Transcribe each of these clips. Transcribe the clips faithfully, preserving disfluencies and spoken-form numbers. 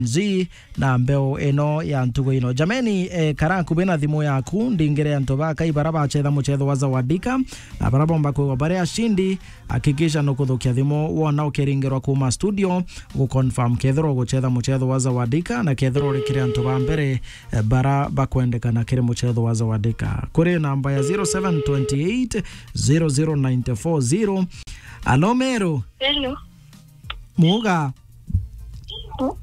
Z na mbeu ino ya ntugo ino. Jameni, eh, kara nkubi na thimu yaku, ndingire antu ba Kai bara bachetha muchetho wa Zawadika, na bara bomba kwigwa bari ashindi, hakikisha nukuthukia thimu wona ukiringirwa kuma studio, gu confirm kethirwa uguchetha muchetho wa Zawadika, na kethirwa uri kiri antu ba mbere, eh, bara bakwendekana kiri muchetho wa Zawadika. Kuri namba ya zero seven twenty eight zero zero nine four zero. Alo, Meru? Hello. Muga? Mu-,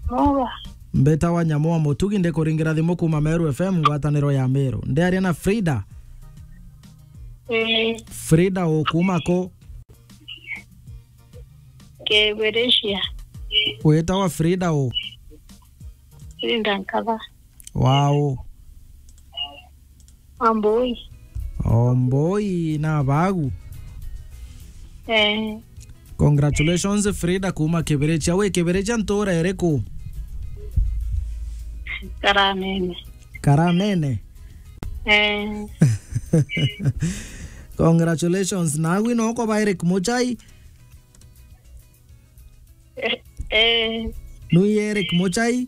muga? Mbeta wa Nyamu wa Mutugi, ndikuringira thimu kuma Meru F M, ngwataniro ya Meru. Ndiaria na Frida? Eh. Frida, u kuma ku? Kibirichia. Witawa Frida u? Frida Nkatha. Wow. Wambui. Omboi na bagu. Eh. Congratulations, Frida kuma Kibirichia. Wi Kibirichia ntura iriku? Karanene. Karanene? Eh. Congratulations. Naagwi noko ba Eric Muchai? Eh, eh. Nui Eric Muchai?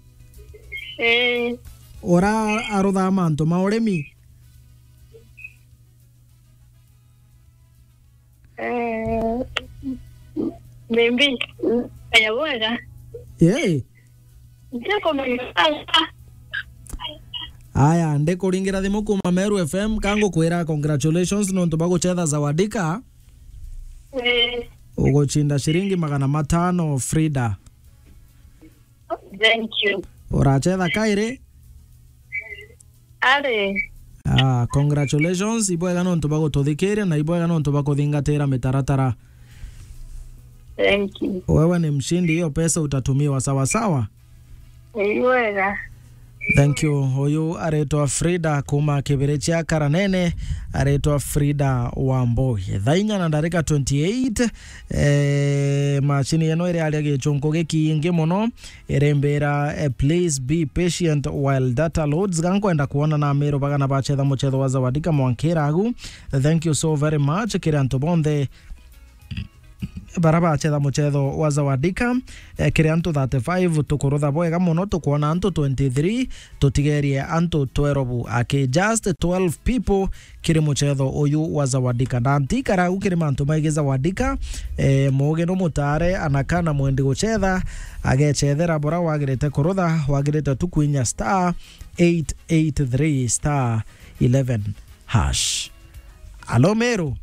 Eh. Ura aruthaa mantu ma urimi? Eh, maybe, mm, aya bwega. Yee. Ndikumenya. Aya, ndikuringira thimu kuma Meru F M, kangukwira congratulations nontu bwa guchetha Zawadika. Eh. Uguchinda shiringi magana matano, Frida. Thank you. Urachetha kairi? Ari. Ah, congratulations, ibwega nontu bwa gututhikiria na ibwega nontu bwa kuthingatira mitaratara. Thank you. Wewe ni mshindi, hiyo pesa utatumiwa sawa sawa. Ibwega. Thank you. Uyu aretwa Frida kuma Kibirichia Karanene, aretwa Frida Wamboi. Thaa inya na ndarika twenty-eight, eh, machini ino iri aria gichunku gikiingi muno, irembera, eh, "Please be patient while data loads." Gankwenda kuona na Meru bagana bachetha muchetho wa Zawadika mwankira agu. Thank you so very much kiri antu bonthe bara bachetha muchetho wa Zawadika, eh, kiri antu thirty-five tukurutha bwega muno, tukwona antu twenty-three, tutigerie antu twelve, aki just twelve people kiri muchetho uyu wa Zawadika. Na ntikara u kiri mantu maigi Zawadika, eh, mugi no mutare anakana mwendi guchetha, agechethera bura wagirite kurutha, wagirite tu kwinya star eight eight three star eleven hash. Alo, Meru?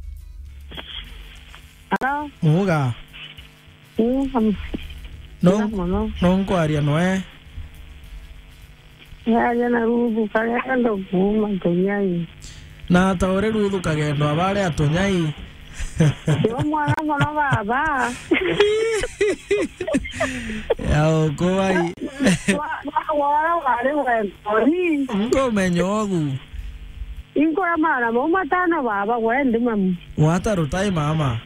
Alo. Muga? Mm, am-, no, muno. No nkwaria noe? Yaria na Ruthu Kagendo kuma Tunyai. Na ta uri Ruthu Kagendo abare a Tunyai? Yo mwana muno baba. Ya ukuwai. Wa, wa, wara wari wendori. Nkomenya ogu. Inkoya mara mau matano baba, gwendi mamu. Wata rutai mama.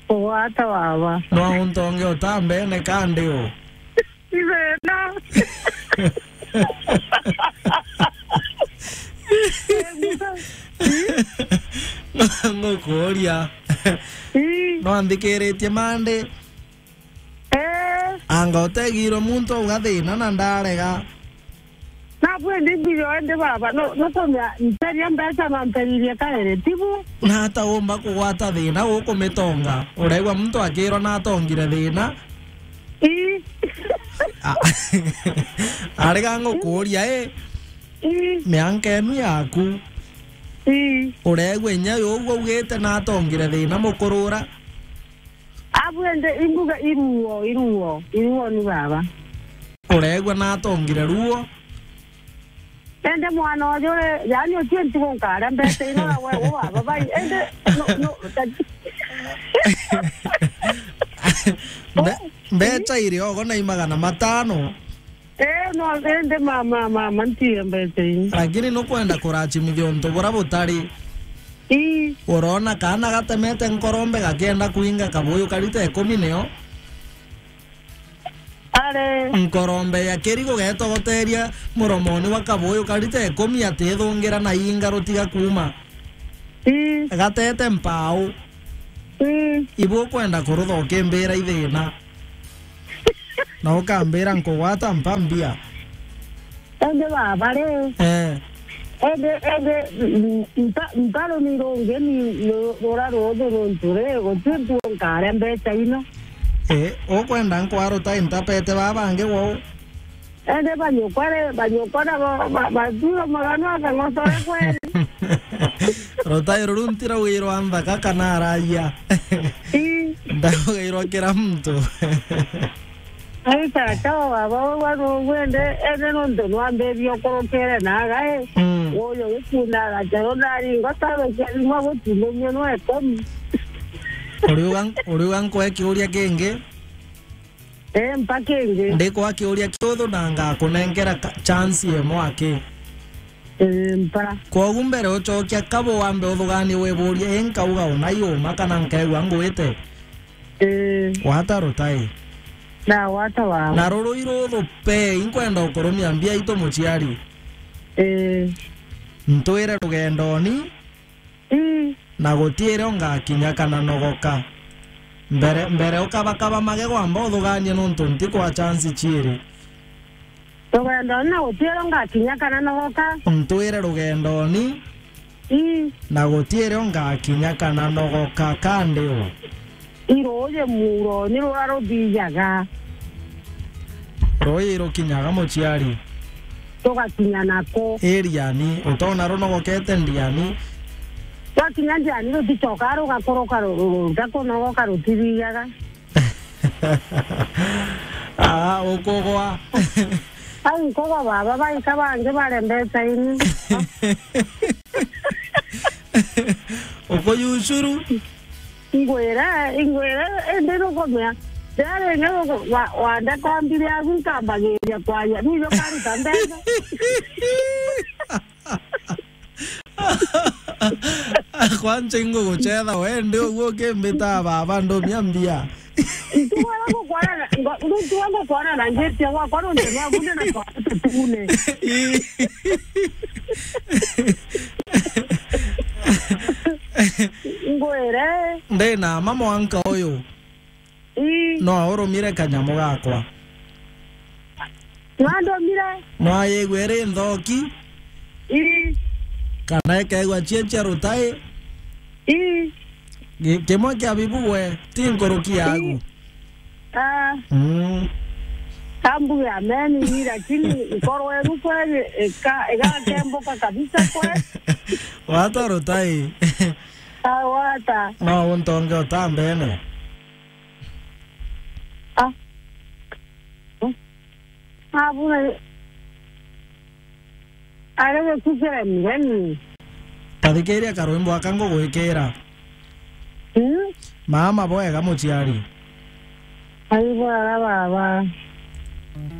Kugwata baba. No untonge utambene kandi u? Ithena. Ngukuria. Ii. No nthikiritie mandi. Eh. Anga utegirwe muntu auga thina na ndarega. Na bwendi mbiro ende baba, no, no tomia mperia mbeca na mperirie kaere, tibu? Na ata umba kugwata thina gukumitonga? Uregwa muntu akirwa na atongire thina? Ii. A-, arega ngukuria, i? Ii. Mianka enu yaku. Ii. Uregwa inya yu ugwite na atongire thina mukurura? Abu ende imbuga iruo, iruo, iruo ni baba. Uregwa na atongire ruo? Ende mwana uyu, yani ucio ntigo nkaria mbeca ino na we, u baba bai. Ende, no, no, ta- Mbe-, mbeca iri ogo na i magana matano. Eh, no, ende mama, mama, ntie mbeca ii. Lakini nukwenda kurachimithia untu bura butari. Ii. Urona kaana gatemete nkorombe gakienda kuinga kabuyu karita ikumi nio? Are. Nkorombe ya kiri gugetogoteria muromoni wa kabuyu karita ikumi atithungira na inga rutiga kuuma. Ii. Gatete mpau. Ii. Ibu ukwenda kurutha ukimbira ithina. Na ukambira nkugwata mpa mbia. Indi baba ri. Eh. Indi, indi, mm, nta-, ntaruni rungi ni ru-, rura ruthu runtu ri, guti ntuo nkaria mbeca ino. Eh, ukwenda nkwaruta intapete baba bangi gwou? Indi banyukwa ri, banyukwa na ba-, ba-, batura magano akang'otore kweri. Rutai ruru ntiraugairwa nthaka kana aragia. Ii. Ndaugairwa kira muntu. Ai tata wa baba, we wari ugwende, ene nontu nwambirie ukurukire na agai. Mm. Uyu gikunda agacero ndaringa tarukia bimwe gutinumio nwe komi. Uriuga, uriuga nkwe kiuria kingi? Eh, mpa kingi. Ndikwa kiuria kiuthu na ngakunenkera ka-, chance imwe aki. Eh, mpa. Kwogu mbere ucokia kabu wambe uthuganie wiburie, i nkauga una yuma kana nkaigua ngwite? Ii. Gwata rutai. Ndagwata wawe. Na ruru iruthu pe, inkwenda ukurumia mbia itu muciari. Ii. Ntwire rugendoni. Ii. Na gutiire ungakinya kana nogoka. Mbere, mbere ukabakaba magego amba uthuganie nontu ntikwa chance ciiri. Rugendo na gutiero ngakinya kana nogoka. Ntwire rugendoni. Ii. Na gutiere ngakinya kana nogoka kandi u. Iruuji muuroni rura ruthijaga. Ruuji rukinyaga muciari. Tugakinya naku. Iriani, utona runogokete ndiani. Twakinya ndiani ruticoka rugakuruka ru-, ru-, ru-, rutakunogoka rutithijaga. Ah, ukugwa. Ai, nkugwa baba, baika bangi baria mbeca ini. Ukuyucuru. Ingwira, ingwira, indi nukumea. Riria ringi wa-, wandeka mbiri yaku nkambagiria kwaria, nijo karuta mbeca. Kwanza ingugucetha we ndi uguo ukimbitaa baba ndumia mbia. Ntuga ngukwana na, ngo-, ntuga ngukwana na ngiti gwakwa nontu nwa bunde na kwa tutune. Ii. Ngwire. Ndi na mama mwanka uyu. Ii. No urumire kanyamu gakwa. Nwandomire. Nwayigua iri nthoki. Ii. Kana ikaigua cie cia rutai. Ii. Gi-, kimwe kia bibu gwe, ti nkuruki yagu. Ii. Ah. Mm. Kambu ya meni, lakini nkoro eruko ika-, igakembuka kabisa kwe. Wata rutai. Ah, wata. No untonge utambene. Ah. Abuna. Arege kukira mgeni. Tathikiria karwimbo aka ngugwikira. Hmm? Mama bwega muciari. Ai bwega baba.